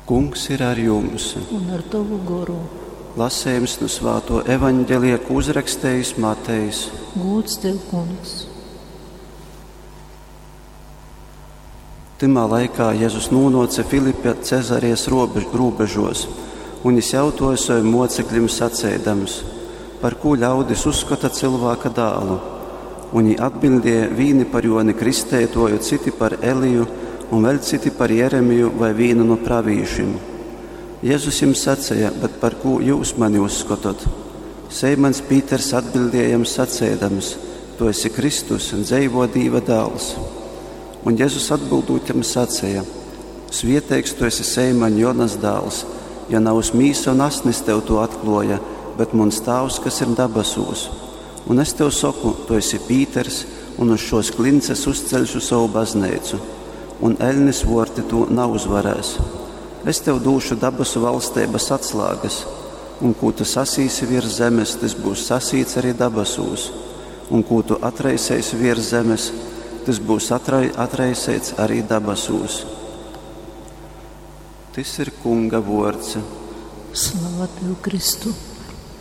Kungs ir ar jums! Un ar tovu goru. Lasējums nu svāto evaņģelija, ko uzrakstējis Matejs. Gūds tev, kungs! Tymā laikā Jēzus nūnoce Filipa Cezarijas robežos, un jis jautoja saviem mocekļiem sacēdams, par kū ļaudis uzskata cilvēka dālu. Un viņi atbildēja vīni par Joni Kristētoju, citi par Eliju, un vēl citi par Jeremiju vai vienu no pravīšiem. Jēzus jums sacīja, bet par ko jūs mani uzskatot? Seimans Pīters atbildēja jam sacēdams, tu esi Kristus un dzeivo Dīva dēls. Un Jēzus atbildot jam sacīja, svieteigs tu esi Seimaņ Jonas dēls, ja nav uz mīsa un asnis tev to atkloja, bet mans tāvs, kas ir dabasūs. Un es tev saku, tu esi Pīters, un uz šos klinces uzceļšu savu baznīcu, un elnis vorti to neuzvarēs. Es tev došu dabasu valstības atslēgas, un ko tu sasīsi virs zemes, tas būs sasīts arī dabasūs, un ko tu atraisēsi virs zemes, tas būs atrai, atraisēts arī dabasūs. Tas ir Kunga vārds. Slava tev, Kristu!